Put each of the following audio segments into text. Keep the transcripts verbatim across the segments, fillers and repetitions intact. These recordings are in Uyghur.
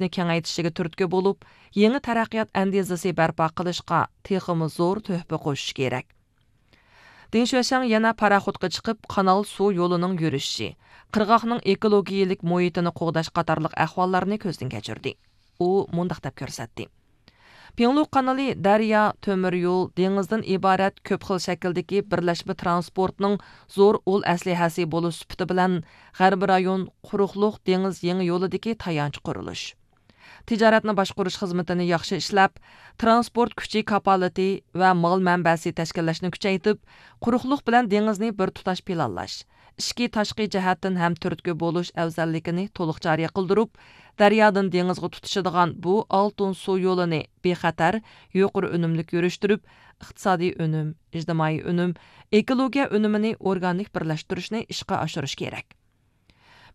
تىجارەتنى كېڭەيتىشىگە تۈرتكە بولۇپ، يېڭى تەرەققىيات ئەندىزىسى بەرپا قىلىشقا تېخىمۇ زور تۆھپە قوشۇشى كېرەك. دېڭ شۈەشەڭ يەنە پاراخوتقا چىقىپ، قانال سۇ يولىنىڭ يۈرۈشى، قىرغاقنىڭ ئېكولوگىيەلىك مۇھىتىنى قوغداش قاتارلىق ئەھۋاللارنى كۆزدىن كەچۈردى. ئۇ مۇنداق دەپ كۆرسەتتى: پىڭلۇ قانىلى دەريا، تۆمۈر يول، دېڭىزدىن ئىبارەت كۆپ خىل شەكىلدىكى بىرلەشمە تىرانسپورتنىڭ زور ئۇل ئەسلىھەسى بولۇش سۈپىتى بىلەن، غەربىي رايون قۇرۇقلۇق دېڭىز يېڭى يولىدىكى تايانچ قۇرۇلۇش. تىجارەتنى باشقۇرۇش خىزمىتىنى ياخشى ئىشلەپ، تىرانسپورت كۈچى كاپالىتى ۋە مال مەنبەسى تەشكىللەشنى كۈچەيتىپ، قۇرۇقلۇق بىلەن دېڭىزنى بىر تۇتاش پىلانلاش، ئىچكى، تاشقى جەھەتتىن ھەم تۈرتكە بولۇش ئەۋزەللىكىنى تولۇق جارى قىلدۇرۇپ، دەريادىن دېڭىزغا تۇتىشىدىغان بۇ ئالتۇن سۇ يولىنى بىخەتەر، يۇقىرى ئۈنۈملۈك يۈرۈشتۈرۈپ، ئىقتىسادىي ئۈنۈم، ئىجتىمائىي ئۈنۈم، ئېكولوگىيە ئۈنۈمىنى ئورگانىك بىرلەشتۈرۈشنى ئىشقا ئاشۇرۇش كېرەك.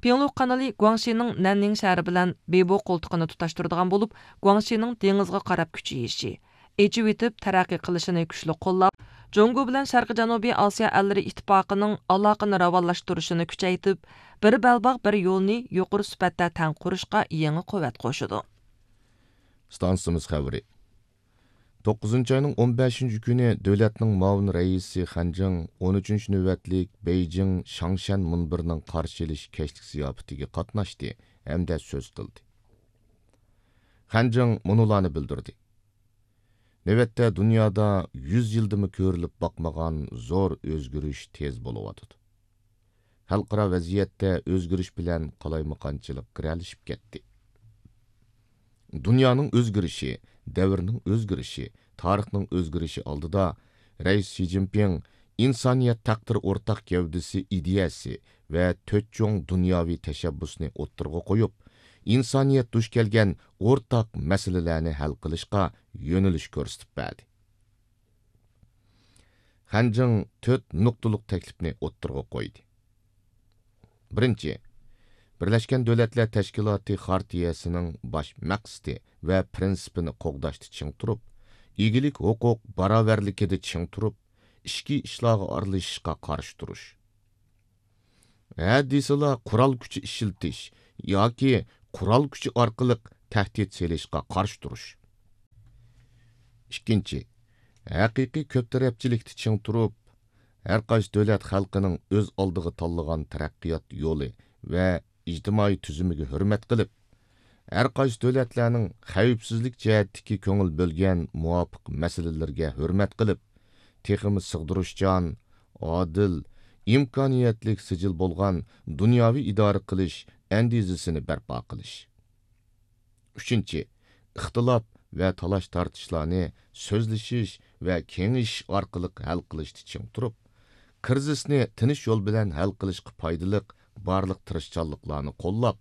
پىڭلۇ قانىلى گۇاڭشىنىڭ نەننىڭ شەھىرى بىلەن بىبو قولتۇقىنى تۇتاشتۇرىدىغان بولۇپ، گۇاڭشىنىڭ دېڭىزغا قاراپ كۈچىيىشى، ئېچىۋېتىپ تەرەققىي قىلىشىنى كۈچلۈك قوللاپ، جۇڭگو بىلەن شەرقىي جەنۇبىي ئاسىيا ئەللىرى ئىتتىپاقىنىڭ ئالاقىنى راۋانلاشتۇرۇشىنى كۈچەيتىپ، بىر بەلباغ، بىر يولنى يۇقىرى سۈپەتتە تەڭ قۇرۇشقا يېڭى قۇۋۋەت قوشىدۇ. ئىستانسىمىز خەۋىرى. توققۇزىنچى ئاينىڭ ئون بەشىنچى كۈنى دۆلەتنىڭ مۇئاۋىن رەئىسى خەن جىڭ ئون ئۈچىنچى نۆۋەتلىك بېيجىڭ شاڭشەن مۇنبىرىنىڭ قارشى ئېلىش كەچلىك زىياپىتىگە قاتناشتى ھەمدە سۆز قىلدى. خەن جىڭ مۇنۇلارنى بىلدۈردى: نۆۋەتتە دۇنيادا يۈز يىلدىمۇ كۆرۈلۈپ باقمىغان زور ئۆزگىرىش تېز بولۇۋاتىدۇ. خەلقئارا ۋەزىيەتتە ئۆزگىرىش بىلەن قالايمىقانچىلىق گىرەلىشىپ كەتتى. دۇنيانىڭ ئۆزگىرىشى، دەۋرنىڭ ئۆزگىرىشى، تارىخنىڭ ئۆزگىرىشى ئالدىدا رەئىس شى جىنپىڭ ئىنسانىيەت تەقدىرى ئورتاق گەۋدىسى ئىدىيەسى ۋە تۆت چوڭ دۇنياۋى تەشەببۇسنى ئوتتۇرىغا قويۇپ، ئىنسانىيەت دۇچ كەلگەن ئورتاق مەسىلىلەرنى ھەل قىلىشقا يۆنىلىش كۆرسىتىپ بەردى. خەن جىڭ تۆت نۇقتىلىق تەكلىپنى ئوتتۇرىغا قويدى. بىرىنچى، بىرلەشكەن دۆلەتلەر تەشكىلاتى خارتىيەسىنىڭ باش مەقسىتى ۋە پىرىنسىپىنى قوغداشتا چىڭ تۇرۇپ، ئىگىلىك ھوقۇق باراۋەرلىكىدە چىڭ تۇرۇپ، ئىچكى ئىشلارغا ئارىلىشىشقا قارشى تۇرۇش. ھە دېسىلا قورال كۈچى ئىشلىتىش ياكى قورال كۈچى ئارقىلىق تەھدىت سېلىشقا قارشى تۇرۇش. ئىككىنچى، ھەقىقىي كۆپ تەرەپچىلىكتە چىڭ تۇرۇپ، ھەر قايسى دۆلەت خەلقىنىڭ ئۆز ئالدىغا تاللىغان تەرەققىيات يولى ۋە ئىجتىمائىي تۈزۈمىگە ھۆرمەت قىلىپ، ھەر قايسى دۆلەتلەرنىڭ خەۋپسىزلىك جەھەتتىكى كۆڭۈل بۆلگەن مۇۋاپىق مەسىلىلىرىگە ھۆرمەت قىلىپ، تېخىمۇ سىغدۇرۇشچان، ئادىل، ئىمكانىيەتلىك سىجىل بولغان دۇنياۋى ئىدارە قىلىش ئەندىزىسىنى بەرپا قىلىش. ئۈچىنچى، ئىختىلاپ ۋە تالاش-تارتىشلارنى سۆزلىشىش ۋە كېڭىشىش ئارقىلىق ھەل قىلىشتا چىڭ تۇرۇپ، كىرىزىسنى تىنچ يول بىلەن ھەل قىلىشقا پايدىلىق بارلىق تىرىشچانلىقلارنى قوللاپ،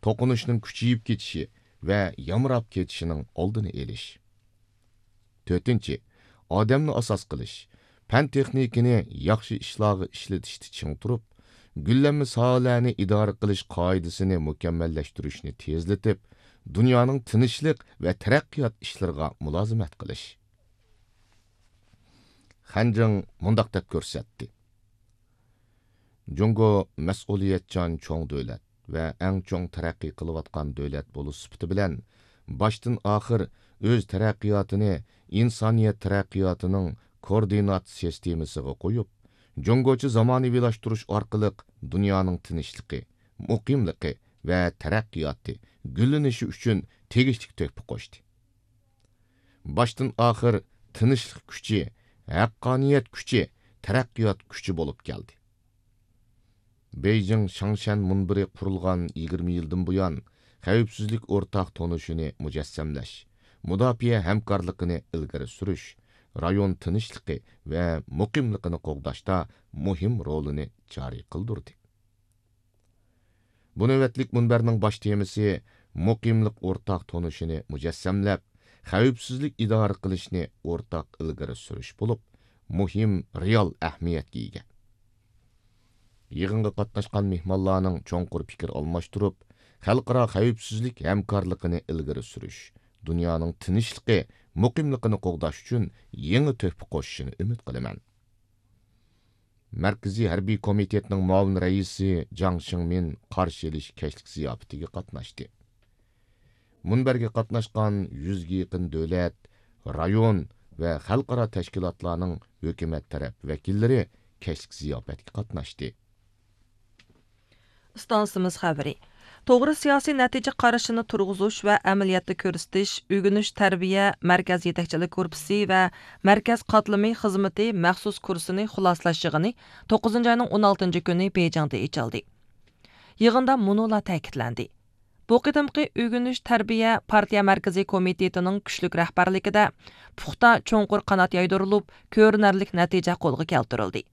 توقۇنۇشنىڭ كۈچىيىپ كېتىشى ۋە يامراپ كېتىشىنىڭ ئالدىنى ئېلىش. تۆتىنچى، ئادەمنى ئاساس قىلىش، پەن-تېخنىكىنى ياخشى ئىشلارغا ئىشلىتىشتە چىڭ تۇرۇپ، گۈللەنمە ساھەلەرنى ئىدارە قىلىش قائىدىسىنى مۇكەممەللەشتۈرۈشنى تېزلىتىپ، دۇنيانىڭ تىنچلىق ۋە تەرەققىيات ئىشلىرىغا مۇلازىمەت قىلىش. خەن جىڭ مۇنداق دەپ كۆرسەتتى: جۇڭگو مەسئۇلىيەتچان چوڭ دۆلەت ۋە ئەڭ چوڭ تەرەققىي قىلىۋاتقان دۆلەت بولۇش سۈپىتى بىلەن، باشتىن ئاخىر ئۆز تەرەققىياتىنى ئىنسانىيەت تەرەققىياتىنىڭ كوئوردىنات سىستېمىسىغا قويۇپ، جۇڭگوچە زامانىۋىلاشتۇرۇش ئارقىلىق دۇنيانىڭ تىنچلىقى، مۇقىملىقى ۋە تەرەققىياتى، گۈللىنىشى ئۈچۈن تېگىشلىك تۆھپە قوشتى. باشتىن ئاخىر تىنچلىق كۈچى، ھەققانىيەت كۈچى، تەرەققىيات كۈچى بولۇپ كەلدى. بېيجىڭ شاڭشەن مۇنبىرى قۇرۇلغان يىگىرمە يىلدىن بۇيان، خەۋپسىزلىك ئورتاق تونۇشىنى مۇجەسسەملەش، مۇداپىئە ھەمكارلىقىنى ئىلگىرى سۈرۈش، رايون تىنچلىقى ۋە مۇقىملىقىنى قوغداشتا مۇھىم رولىنى جارى قىلدۇردى. بۇ نۆۋەتلىك مۇنبەرنىڭ باش تېمىسى مۇقىملىق ئورتاق تونۇشىنى مۇجەسسەملەپ، خەۋپسىزلىك ئىدارە قىلىشنى ئورتاق ئىلگىرى سۈرۈش بولۇپ، مۇھىم رېئال ئەھمىيەتكە ئىگە. يىغىنغا قاتناشقان مېھمانلارنىڭ چوڭقۇر پىكىر ئالماشتۇرۇپ، خەلقئارا خەۋپسىزلىك ھەمكارلىقىنى ئىلگىرى سۈرۈش، دۇنيانىڭ تىنچلىقى، مۇقىملىقىنى قوغداش ئۈچۈن يېڭى تۆھپە قوشۇشىنى ئۈمىد قىلىمەن. مەركىزىي ھەربىي كومىتېتنىڭ مۇئاۋىن رەئىسى جاڭ شىڭمىن قارشى ئېلىش كەچلىك زىياپىتىگە قاتناشتى. مۇنبەرگە قاتناشقان يۈزگە يېقىن دۆلەت، رايون ۋە خەلقئارا تەشكىلاتلارنىڭ ھۆكۈمەت تەرەپ ۋەكىللىرى كەچلىك زىياپەتكە قاتناشتى. ئىستانسىمىز خەۋىرى. توغرا سىياسىي نەتىجە قارىشىنى تۇرغۇزۇش ۋە ئەمەلىيەتتە كۆرسىتىش، ئۆگىنىش تەربىيە مەركەز يېتەكچىلىك گۇرۇپپىسى ۋە مەركەز قاتلىمى خىزمىتى مەخسۇس كۇرسىنى خۇلاسىلەش يىغىنى توققۇزىنچى ئاينىڭ ئون ئالتىنچى كۈنى بېيجىڭدا ئېچىلدى. يىغىندا مۇنۇلار تەكىتلەندى. بۇ قېتىمقى ئۆگىنىش تەربىيە پارتىيە مەركىزىي كومىتېتىنىڭ كۈچلۈك رەھبەرلىكىدە پۇختا، چوڭقۇر قانات يايدۇرۇلۇپ، كۆرۈنەرلىك نەتىجە قولغا كەلتۈرۈلدى.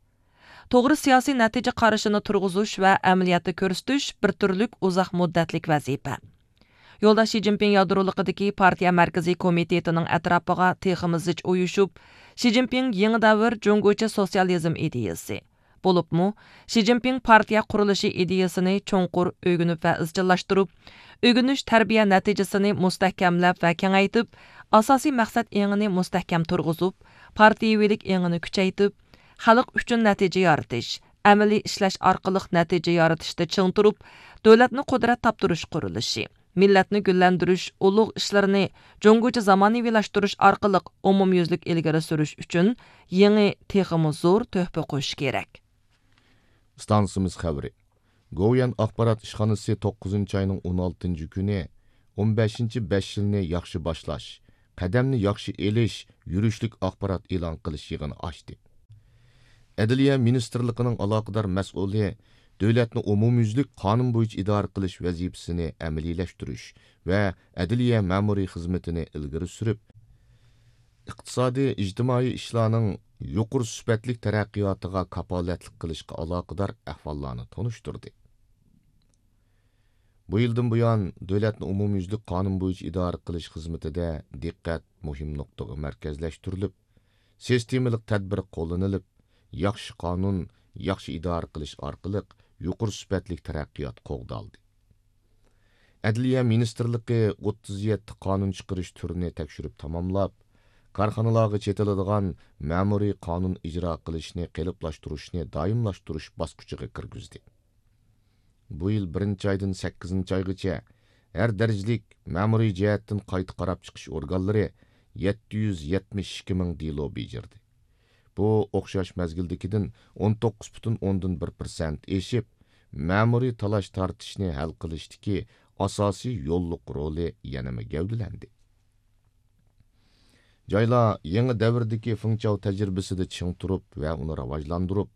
توغرا سىياسىي نەتىجە قارىشىنى تۇرغۇزۇش ۋە ئەمەلىيەتتە كۆرسىتىش بىر تۈرلۈك ئۇزاق مۇددەتلىك ۋەزىپە. يولداش شى جىنپىڭ يادرولۇقىدىكى پارتىيە مەركىزىي كومىتېتىنىڭ ئەتراپىغا تېخىمۇ زىچ ئۇيۇشۇپ، شى جىنپىڭ يېڭى دەۋر جۇڭگوچە سوتسىيالىزم ئىدىيىسى، بولۇپمۇ شى جىنپىڭ پارتىيە قۇرۇلۇشى ئىدىيىسىنى چوڭقۇر ئۆگىنىپ ۋە ئىزچىللاشتۇرۇپ، ئۆگىنىش تەربىيە نەتىجىسىنى مۇستەھكەملەپ ۋە كېڭەيتىپ، ئاساسىي مەقسەت ئېڭىنى مۇستەھكەم تۇرغۇزۇپ، پارتىيىۋىلىك ئېڭىنى كۈچەيتىپ، خەلق ئۈچۈن نەتىجە يارىتىش، ئەمەلىي ئىشلەش ئارقىلىق نەتىجە يارىتىشتا چىڭ تۇرۇپ، دۆلەتنى قۇدرەت تاپتۇرۇش قۇرۇلۇشى، مىللەتنى گۈللەندۈرۈش ئۇلۇغ ئىشلىرىنى جۇڭگوچە زامانىۋىلاشتۇرۇش ئارقىلىق ئومۇميۈزلۈك ئىلگىرى سۈرۈش ئۈچۈن يېڭى، تېخىمۇ زور تۆھپە قوشۇش كېرەك. ئىستانسىمىز خەۋىرى. گوۋۇيۈەن ئاخبارات ئىشخانىسى توققۇزىنچى ئاينىڭ ئون ئالتىنچى كۈنى، ئون بەشىنچى بەش يىلنى ياخشى باشلاش، قەدەمنى ياخشى ئېلىش يۈرۈشلۈك ئاخبارات ئېلان قىلىش يىغىنى ئاچتى. ئەدلىيە مىنىستىرلىقىنىڭ ئالاقىدار مەسئۇلى دۆلەتنى ئومۇميۈزلۈك قانۇن بويىچە ئىدارە قىلىش ۋەزىپىسىنى ئەمەلىيلەشتۈرۈش ۋە ئەدلىيە مەمۇرىي خىزمىتىنى ئىلگىرى سۈرۈپ، ئىقتىسادىي، ئىجتىمائىي ئىشلارنىڭ يۇقىرى سۈپەتلىك تەرەققىياتىغا كاپالەتلىك قىلىشقا ئالاقىدار ئەھۋاللارنى تونۇشتۇردى. بۇ يىلدىن بۇيان، دۆلەتنى ئومۇميۈزلۈك قانۇن بويىچە ئىدارە قىلىش خىزمىتىدە دىققەت مۇھىم نۇقتىغا مەركەزلەشتۈرۈلۈپ، سىستېمىلىق تەدبىر قوللىنىلىپ، ياخشى قانۇن، ياخشى ئىدارە قىلىش ئارقىلىق يۇقىرى سۈپەتلىك تەرەققىيات قوغدالدى. ئەدلىيە مىنىستىرلىقى ئوتتۇز يەتتە قانۇن چىقىرىش تۈرىنى تەكشۈرۈپ تاماملاپ، كارخانىلارغا چېتىلىدىغان مەمۇرىي قانۇن ئىجرا قىلىشنى قېلىپلاشتۇرۇشنى دائىملاشتۇرۇش باسقۇچىغا كىرگۈزدى. بۇ يىل بىرىنچى ئايدىن سەككىزىنچى ئايغىچە ھەر دەرىجىلىك مەمۇرىي جەھەتتىن قايتا قاراپ چىقىش ئورگانلىرى يەتتە يۈز يەتمىش ئىككى مىڭ دېلو بېجىردى. بۇ ئوخشاش مەزگىلدىكىدىن ئون توققۇز پۈتۈن ئوندىن بىر پىرسەنت ئېشىپ، مەمۇرىي تالاش-تارتىشنى ھەل قىلىشتىكى ئاساسىي يوللۇق رولى يەنىمۇ گەۋدىلەندى. جايلار يېڭى دەۋردىكى فېڭچاۋ تەجرىبىسىدە چىڭ تۇرۇپ ۋە ئۇنى راۋاجلاندۇرۇپ،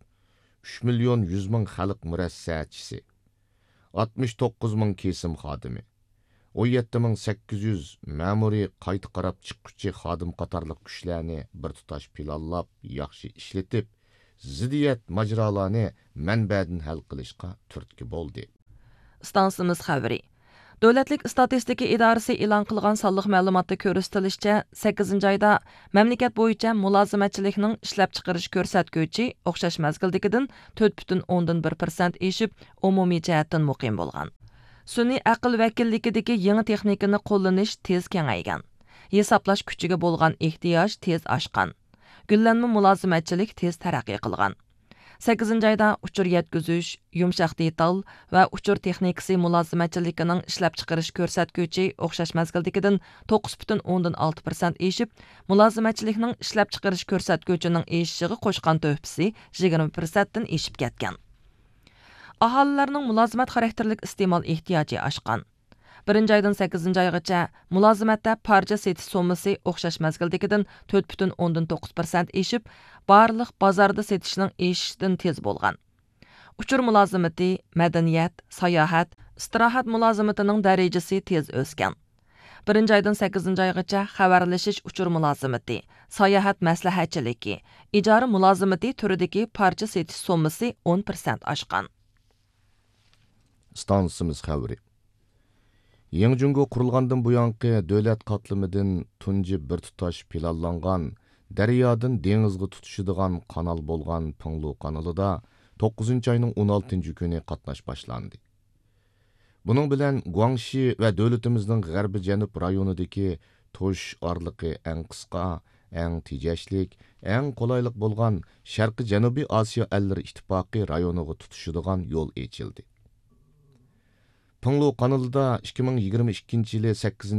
ئۈچ مىليون يۈز مىڭ خەلق مۇرەسسەچىسى، ئاتمىش توققۇز مىڭ كېسىم خادىمى، ئون يەتتە مىڭ سەككىز يۈز مەمۇرىي قايتا قاراپ چىققۇچى خادىم قاتارلىق كۈچلەرنى بىر تۇتاش پىلانلاپ، ياخشى ئىشلىتىپ، زىددىيەت ماجىرالارنى مەنبەدىن ھەل قىلىشقا تۈرتكە بولدى. ئىستانسىمىز خەۋىرى. دۆلەتلىك ئىستاتىستىكا ئىدارىسى ئېلان قىلغان سانلىق مەلۇماتتا كۆرسىتىلىشىچە، سەككىزىنچى ئايدا مەملىكەت بويىچە مۇلازىمەتچىلىكنىڭ ئىشلەپچىقىرىش كۆرسەتكۈچى ئوخشاش مەزگىلدىكىدىن تۆت پۈتۈن ئوندىن بىر پىرسەنت ئېشىپ، ئومۇمىي جەھەتتىن مۇقىم بولغان. سۈنئىي ئەقىل ۋەكىللىكىدىكى يېڭى تېخنىكىنى قوللىنىش تېز كېڭەيگەن. ھېسابلاش كۈچىگە بولغان ئېھتىياج تېز ئاشقان. گۈللەنمە مۇلازىمەتچىلىك تېز تەرەققىي قىلغان. سەككىزىنچى ئايدا ئۇچۇر يەتكۈزۈش، يۇمشاق دېتال ۋە ئۇچۇر تېخنىكىسى مۇلازىمەتچىلىكىنىڭ ئىشلەپچىقىرىش كۆرسەتكۈچى ئوخشاش مەزگىلدىكىدىن توققۇز پۈتۈن ئوندىن ئالتە پىرسەنت ئېشىپ، مۇلازىمەتچىلىكنىڭ ئىشلەپچىقىرىش كۆرسەتكۈچىنىڭ ئېشىشىغا قوشقان تۆھپىسى يىگىرمە پىرسەنتتىن ئېشىپ كەتكەن. ئاھالىلەرنىڭ مۇلازىمەت خاراكتېرلىك ئىستېمال ئېھتىياجى ئاشقان. بىرىنچى ئايدىن سەككىزىنچى ئايغىچە مۇلازىمەتتە پارچە سېتىش سوممىسى ئوخشاش مەزگىلدىكىدىن تۆت پۈتۈن ئوندىن توققۇز پىرسەنت ئېشىپ، بارلىق بازاردا سېتىشنىڭ ئېشىشىدىن تېز بولغان. ئۇچۇر مۇلازىمىتى، مەدەنىيەت، ساياھەت، ئىستىراھەت مۇلازىمىتىنىڭ دەرىجىسى تېز ئۆسكەن. بىرىنچى ئايدىن سەككىزىنچى ئايغىچە خەۋەرلىشىش ئۇچۇر مۇلازىمىتى، ساياھەت مەسلىھەتچىلىكى، ئىجارە مۇلازىمىتى تۈرىدىكى پارچە سېتىش سوممىسى ئون پىرسەنت ئاشقان. ئىستانسىمىز خەۋىرى. يېڭى جۇڭگو قۇرۇلغاندىن بۇيانقى دۆلەت قاتلىمىدىن تۇنجى بىر تۇتاش پىلانلانغان دەريادىن دېڭىزغا تۇتىشىدىغان قانال بولغان پىڭلۇ قانىلىدا توققۇزىنچى ئاينىڭ ئون ئالتىنچى كۈنى قاتناش باشلاندى. بۇنىڭ بىلەن گۇاڭشى ۋە دۆلىتىمىزنىڭ غەربىي جەنۇب رايونىدىكى توشۇش ئارىلىقى ئەڭ قىسقا، ئەڭ تېجەشلىك، ئەڭ قولايلىق بولغان شەرقىي جەنۇبىي ئاسىيا ئەللىرى ئىتتىپاقى رايونىغا تۇتىشىدىغان يول ئېچىلدى. پىڭلۇ قانىلىدا ئىككى مىڭ يىگىرمە ئىككىنچى يىلى سەككىزىنچى